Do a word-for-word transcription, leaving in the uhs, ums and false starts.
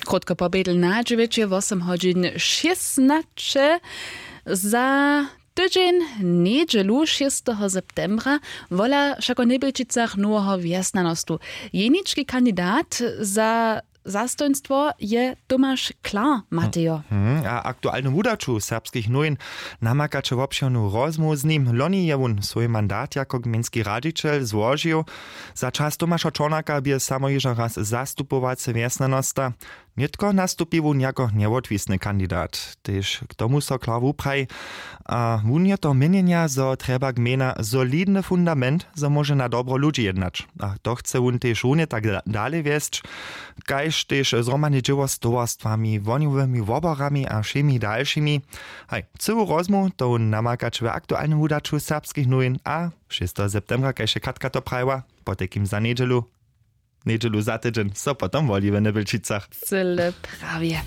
Krótko pobjedl na dźewjeće wosym hodźin šěsnaće. Za tydźeń njedźelu šěsteho septembra wola wšako w Njebjelčicach noweho wjesnjanostu. Jenički kandidat za zastojnstwo je Tomaš Klar. Matejo. Hmm, a aktualnu wudaću serbskich nowin namakaće wobšěrnu rozmołwu z nim. Loni je wón swój mandat jako gmejnski radźićel złožił. Za čas Tomaša Čornaka bě samo hižo raz zastupowacy wjesnjanosta. Nětko nastupi wón jako njewotwisny kandidat, tež k tomu so Klar wupraji. A wón je to měnjenja, zo trjeba gmejna solidny fundament, zo móže na dobro ludźi jednać. A to chce wón tež runje tak da- dale wjesć, kaž tež zhromadne dźěło z towarstwami, wohnjowymi woborami a wšěmi dalšimi. Haj, cyłu rozmołwu to wón namakać w aktualnym wudaću serbskich nowin a šesteho septembra, kaž je Katka to prajiła, potajkim za njedźelu njedźelu za tydźeń so potom woli w Njebjelčicach. Cyle prawje.